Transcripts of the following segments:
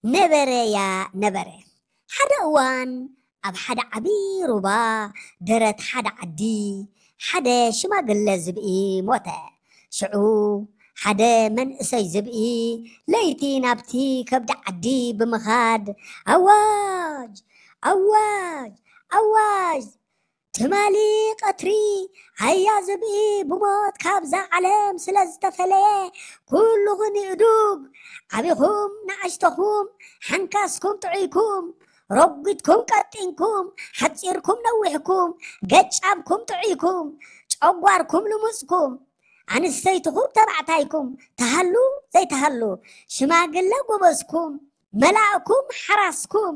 ነበረያ ነበረ። ሓደ እዋን ኣብ ሓደ ዓቢ ሩባ ደረት ሓደ ዓዲ ሓደ ሽማግለ ዝብኢ ሞተ። ሽዑ ሓደ መንእሰይ ዝብኢ ለይቲ ናብቲ ከብዲ ዓዲ ብምኻድ ኣዋጅ ኣዋጅ ኣዋጅ ትማሊ ቀትሪ ኣያ ዝብኢ ብሞት ካብዛ ዓለም ስለ ዝተፈለየ ኩልኹም ይእዱግ ዓቢኹም ንኣሽተኹም ሓንካስኩም ጥዑይኩም ረጒድኩም ቀጢንኩም ሓጺርኩም ነዊሕኩም ገጫብኩም ጥዑይኩም ጨጓርኩም ልሙጽኩም ኣንስተይትኹም ተባዕታይኩም ተሃሉ ዘይተሃሉ ሽማግለ ጎበዝኩም መላእኩም ሓራስኩም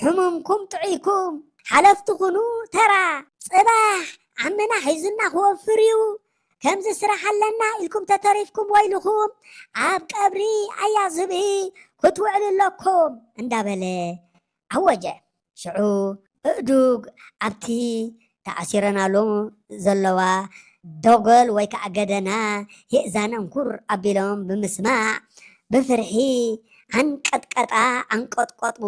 ሕሙምኩም ጥዑይኩም ሓለፍቲ ኩኑ ተራ ጽባሕ ዓምና ሒዙና ክወፍር እዩ ከምዚ ስራሕ ኣለና ኢልኩም ተተሪፍኩም ወይልኹም ኣብ ቀብሪ ኣያ ዝብኢ ክትውዕሉ ኣለኩም እንዳበለ ኣወጀ። ሽዑ እእዱግ ኣብቲ ተኣሲረናሉ ዘለዋ ደጎል ወይ ከዓ ገደና የእዛነን ኩር ኣቢሎም ብምስማዕ ብፍርሒ ኣንቀጥቀጣ ኣንቀጥቀጡ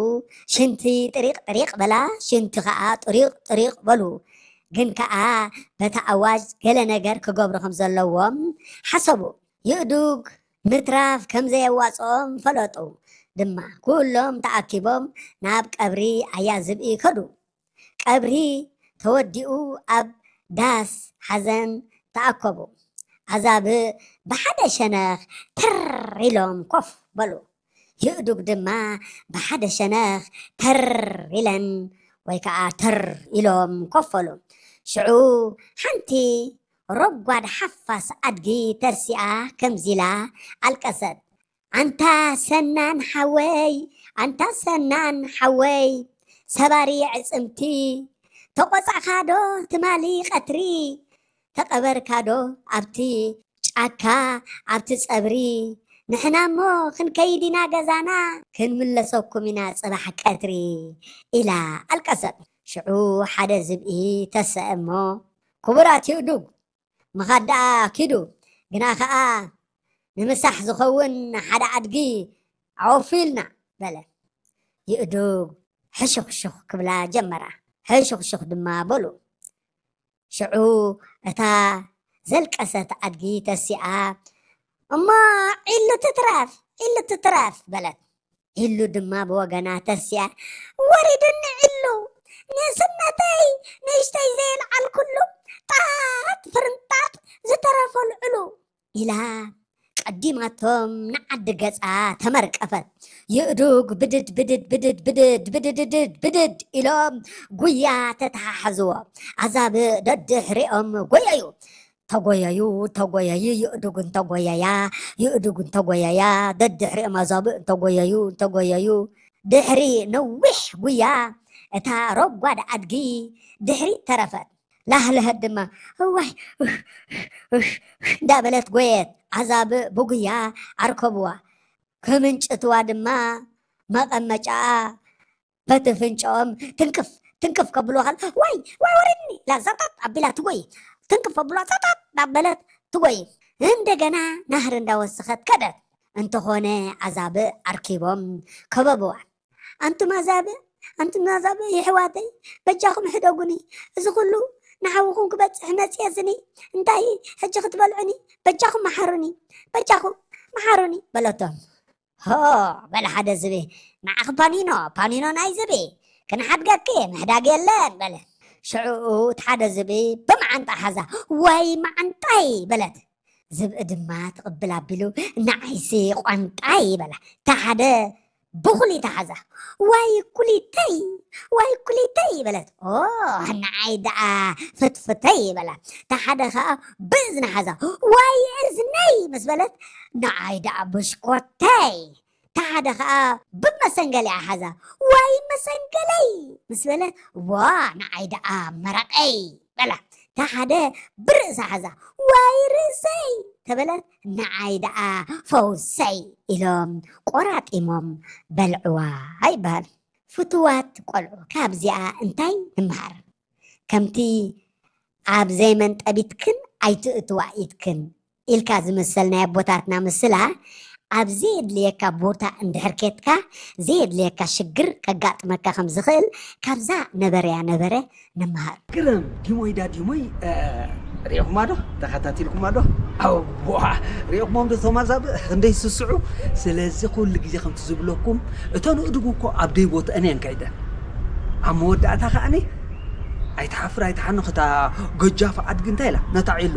ሽንቲ ጥሪቕ ጥሪቕ በላ ሽንቲ ከዓ ጥሪቕ ጥሪቕ በሉ ግን ከዓ በታ ኣዋጅ ገለ ነገር ክገብሩ ከም ዘለዎም ሓሰቡ ይእዱግ ምትራፍ ከም ዘየዋፅኦም ፈለጡ ድማ ኩሎም ተኣኪቦም ናብ ቀብሪ ኣያ ዝብኢ ከዱ ቀብሪ ተወዲኡ ኣብ ዳስ ሓዘን ተኣከቡ። ኣዛብእ ብሓደ ሸነኽ ተር ኢሎም ኮፍ በሉ። የእዱግ ድማ ብሓደ ሸነኽ ተር ኢለን ወይ ከዓ ተር ኢሎም ኮፍ በሉ። ሽዑ ሓንቲ ረጓድ ሓፋስ ኣድጊ ተሲኣ ከምዚላ ኣልቀሰት። ኣንታ ሰናን ሓወይ ኣንታ ሰናን ሓወይ ሰባሪ ኣዕፅምቲ ተቆፃዕካ ዶ ትማሊ ቀትሪ ተቀበርካ ዶ ኣብቲ ጫካ ኣብቲ ፀብሪ ንሕና እሞ ክንከይድ ኢና ገዛና ክንምለሰኩም ኢና ፅባሕ ቀትሪ ኢላ ኣልቀሰት ሽዑ ሓደ ዝብኢ ተሰአ እሞ ክቡራት ይእዱግ ምኻድ ደኣ ኪዱ ግና ኸኣ ንምሳሕ ዝኸውን ሓደ ኣድጊ ኣወፍዩልና በለ። ይእዱግ ሕሹኽሹኽ ክብላ ጀመራ። ሕሹኽሹኽ ድማ በሉ። ሽዑ እታ ዘልቀሰት ኣድጊ ተሲኣ እሞ ዒሉ ትትረፍ ዒሉ ትትረፍ በለት። ኢሉ ድማ ብወገና ተሲኣ ወሪዱኒ ዒሉ ንእስነተይ ንእሽተይ ዘየልዓልኩሉ ጣጥ ፍርንጣጥ ዝተረፈሉ ዕሉ ኢላ ቀዲማቶም ንዓዲ ገጻ ተመርቀፈት። ይእዱግ ብድድ ብድድ ብድድ ብድድ ብድድድድ ብድድ ኢሎም ጉያ ተተሓሓዝዎ። ኣዛብእ ደድሕሪኦም ጎየዩ። ተጎየዩ ተጎየዩ ይእዱግ እንተጎየያ ይእዱግ እንተጎየያ ደድሕሪኦም ኣዛብእ እንተጎየዩ እንተጎየዩ ድሕሪ ነዊሕ ጉያ እታ ረጓድ ኣድጊ ድሕሪ ተረፈት ላህለሀት ድማ እዋይ እንዳበለት ጎየት ኣዛብእ ብጉያ ኣርከብዋ ክምንጭትዋ ድማ መቐመጫኣ በቲ ፍንጭኦም ትንክፍ ትንክፍ ከብልዋ ከል ዋይ ዋይ ወረድኒ ኢላ ዛጣጥ ኣቢላ ትጎይ ትንክፍ ከብልዋ ዛጣጥ እንዳበለት ትጎይ እንደገና ናህሪ እንዳወሰኸት ከደት እንተኾነ ኣዛብእ ኣርኪቦም ከበብዋ ኣንቱም ኣዛብእ ኣንቱም ኣዛብእ የሕዋተይ በጃኹም ሕደጉኒ እዚ ኩሉ ንሓውኹም ክበፅሕ መፅየ ስኒ እንታይ ሕጂ ክትበልዑኒ በጃኹም መሓሩኒ በጃኹም መሓሩኒ በለቶም ሆ በለ ሓደ ዝብኢ፣ ንዓኺ ፓኒኖ፣ ፓኒኖ ናይ ዝብኢ፣ ክንሓድገኪ ምሕዳግ የለን በለ። ሽዑ እቲ ሓደ ዝብኢ ብመዓንጣ ሓዛ፣ ዋይ መዓንጣይ በለት። ዝብኢ ድማ ትቕብል ኣቢሉ፣ ንዓይሲ ቋንጣይ በላ። እታ ሓደ ብኹሊታ ሓዛ፣ ዋይ ኩሊተይ፣ ዋይ ኩሊተይ በለት። ኦ ንዓይ ደኣ ፍትፍተይ በላ። እታ ሓደ ኸኣ ብእዝና ሓዛ፣ ዋይ እዝነይ ምስ በለት፣ ንዓይ ደኣ ብሽኮተይ። እታ ሓደ ኸኣ ብመሰንገሊኣ ሓዛ፣ ዋይ መሰንገለይ ምስ በለት፣ ዋ ንዓይ ደኣ መረቐይ በላ። እታ ሓደ ብርእሳ ሓዛ፣ ዋይ ርእሰይ ተበለት፣ ንዓይ ደኣ ፈውሰይ ኢሎም ቆራጢሞም በልዕዋ ይበሃል። ፍቱዋት ቆልዑ ካብዚኣ እንታይ ንመሃር? ከምቲ ኣብ ዘይመንጠቢትክን ኣይትእትዋ ኢትክን ኢልካ ዝምሰል ናይ ኣቦታትና ምስላ ኣብ ዘየድልየካ ቦታ እንድሕር ኬድካ፣ ዘየድልየካ ሽግር ከጋጥመካ ከም ዝኽእል ካብዛ ነበረያ ነበረ ንመሃር። ግርም ዲሞይ ዳ ዲሞይ፣ እ፣ ሪኢኹማ ዶ? ተኸታቲልኩማ ዶ? ኣዋ፣ ሪኢኹሞም ዶ እቶም ኣዛብእ ክንደይ ይስስዑ? ስለዚ ኩሉ ግዜ ከምቲ ዝብለኩም፣ እተን ኣእዱግ እኮ ኣብ ደይ ቦትአን እየን ከይደን። ኣብ መወዳእታ ከኣኒ፣ ኣይትሓፍር ኣይትሓንኽ እታ ገጃፍ ኣድጊ እንታይ ኢላ? ነታ ዒሉ።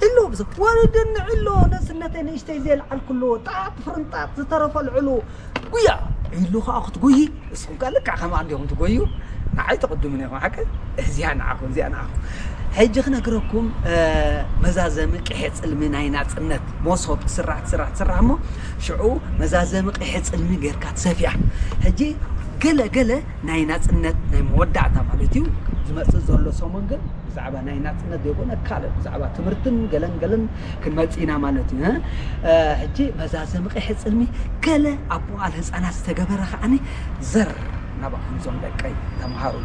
ዒሉ፣ ወረደኒ ዒሉ፣ ነስነተይ ንእሽተይ ዘየልዓልኩሉ፣ ጣጥ ፍርንጣጥ ዝተረፈ ኣልዕሉ። ጉያ! ዒሉ ከኣ ክትጉዪ፣ ንስኹም ከኣ ልክዕ ከምኣ እንዲኹም ትጎዩ። ንዓይ ትቕድሙኒ ኢኹም፣ ሓቂ? እዚኣ ንዓኹም፣ እዚኣ ንዓኹም። ሕጂ ክነግረኩም፣ እ፣ መዛዘሚ ቅሔ ጽልሚ ናይ ናጽነት፣ መሶብ ትስራሕ፣ ትስራሕ፣ ትስራሕ እሞ፣ ሽዑ መዛዘሚ ቅሔ ጽልሚ ጌርካ ትሰፍያ። ሕጂ ገለ፣ ገለ ናይ ናጽነት ናይ መወዳእታ ማለት እዩ፣ ዝመጽእ ዘሎ ሰሙን ግን ብዛዕባ ናይ ናጽነት ዘይኮነ ካልእ ብዛዕባ ትምህርትን ገለን ገለን ክንመጽእ ኢና ማለት እዩ። እ፣ ሕጂ መዛዘሚ ቅሔ ጽልሚ ገለ ኣብ መዋእለ ህጻናት ዝተገበረ ከዓኒ ዘር ናባኹም ዞም ደቀይ ተምሃሩ።